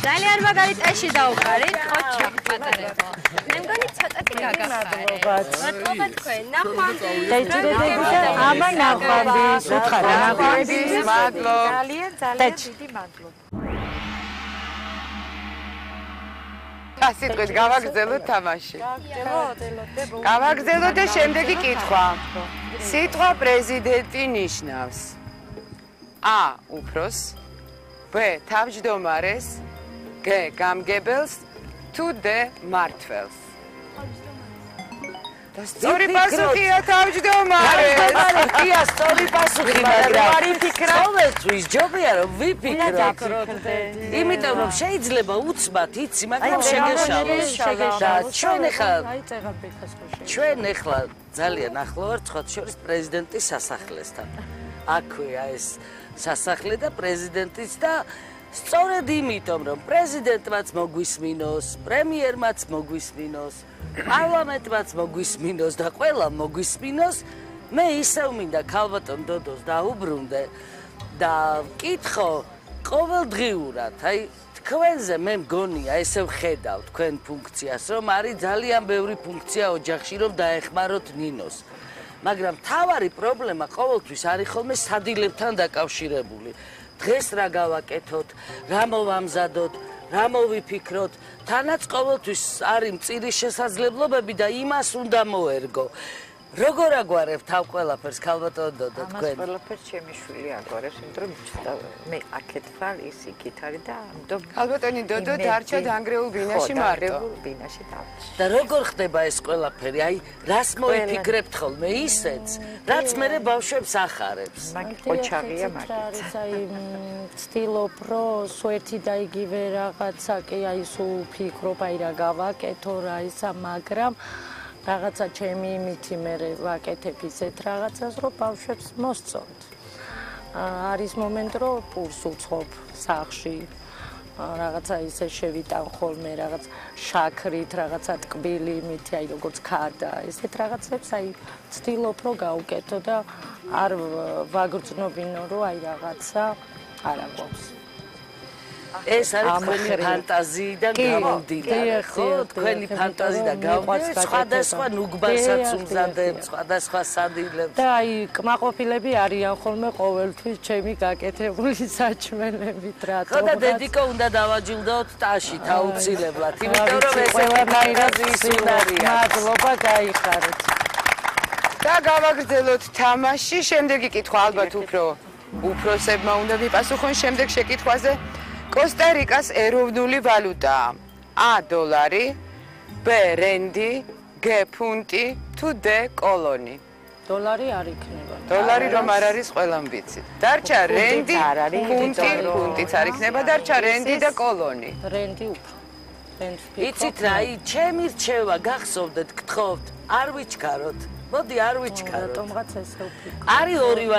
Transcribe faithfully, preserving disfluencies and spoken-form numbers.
ძალიან მაგარი წეში დაუყარით, ოჩა პატარებო. მე მგონი ცოტათი გაგახარეთ. მადლობა თქვენ. ნახვამდის. დაიჭირებები და ამან ნახვამდის. უთხარა ნახვამდის. მადლობა. ძალიან ძალიან დიდი მადლობა. ასიტყვით გავაგრძელოთ თამაში. გავაგრძელოთ. გავაგრძელოთ და შემდეგი კითხვა. სიტყვა პრეზიდენტი ნიშნავს A. უფროსს, B. თავმჯდომარეს, G. გამგებელს, თუ D. მმართველს. და სწორი პასუხია თავმჯდომარეს. თავმჯდომარეა სწორი პასუხი, მაგრამ არის ფიქრა. ყოველთვის ჯობია რომ ვიფიქროთ. იმიტომ რომ შეიძლება უცბად იცი, მაგრამ შეგეშალოს. და ჩვენ ახლა ჩვენ ახლა ძალიან ახლო ვართ სხვა შორის პრეზიდენტის სასახლესთან. აქვეა ეს სასახლე და პრეზიდენტიც და სწორედ იმიტომ რომ პრეზიდენტმაც მოგვისმინოს, პრემიერმაც მოგვისმინოს, პარლამენტმაც მოგვისმინოს და ყველამ მოგვისმინოს, მე ისევ მინდა ქალბატონ დოდოს დაუბრუნდე და ვკითხო ყოველდღიურად, აი თქვენზე მე მგონია ესე ვხედავ თქვენ ფუნქციას, რომ არის ძალიან ბევრი ფუნქცია ოჯახში, რომ დაეხმაროთ ნინოს. მაგრამ თავარი პრობლემა ყოველთვის არის ხოლმე სადილებთან დაკავშირებული. დღეს რა გავაკეთოთ, რა მოვამზადოთ, რა მოვიფიქროთ, თანაც ყოველთვის არის მწირი შესაძლებლობები და იმას უნდა მოერგო. როგორ აგვარებ თავ ყველაფერს ქალბატონ დოდო თქვენ? ამას ყველაფერს ჩემი შვილი აგვარებს, იმიტომ რომ მე აქეთ ვარ, ის იქით არის და ამიტომ ქალბატონი დოდო დარჩა დანგრეულ ბინაში მარტო. ბინაში დავჭი. და როგორ ხდება ეს ყველაფერი? აი, რას მოიფიქრებთ ხოლმე ისეც, რაც მერე ბავშვებს ახარებს. მაგით ოჩაღია მაგით. აი, ვცდილობ, რომ სვერთი და იგივე რაღაცა კი აი სულ ვფიქრობ, აი რა გავაკეთო, რა ისა, მაგრამ რაღაცა ჩემი იმითი მე ვაკეთებ ისეთ რაღაცას, რომ ბავშვებს მოსწონთ. არის მომენტი, რომ პურს უცხობ სახლში, რაღაცა ისე შევიტან ხოლმე, რაღაც შაქრით, რაღაცა ტკბილი იმითი, აი როგორც ქადა, ესეთ რაღაცებს აი ვცდილობ, რომ გავუკეთო და არ ვაგრძნობინო, რომ აი რაღაცა არ აგვაქვს. ეს არის თქვენი ფანტაზიიდან გამომდინარე, ხო? თქვენი ფანტაზიიდან გამომდინარე, სხვადასხვა ნუგბასაც უმზადებთ, სხვადასხვა სადილებს. და აი, კმაყოფილები არიან ხოლმე ყოველთვის ჩემი გაკეთებული საჭმელებით, რატომ? ხო და დედიკო უნდა დავაჯილდოთ ტაშით აუცილებლად, იმიტომ რომ ეს ყველანაირად ის უნარია. მადლობა, გაიხარეთ. და გავაგრძელოთ თამაში, შემდეგი კითხვა ალბათ უფრო უფროსებმა უნდა ვიპასუხონ შემდეგ შეკითხვაზე. კოსტა-რიკას ეროვნული ვალუტაა A. დოლარი, B. რენდი, G. ფუნტი, თუ D. კოლონი. დოლარი არ იქნება. დოლარი რომ არ არის ყველამ ვიცით. დარჩა რენდი, ფუნტი, ფუნტიც არ იქნება, დარჩა რენდი და კოლონი. რენდი უფრო. რენდს იცით რა, ჩემი რჩევა გახსოვდეთ, გთხოვთ, არ ვიჩქაროთ. მოდი არ ვიჩქაროთ. რატომღაც ესე ვფიქრობ. არის ორი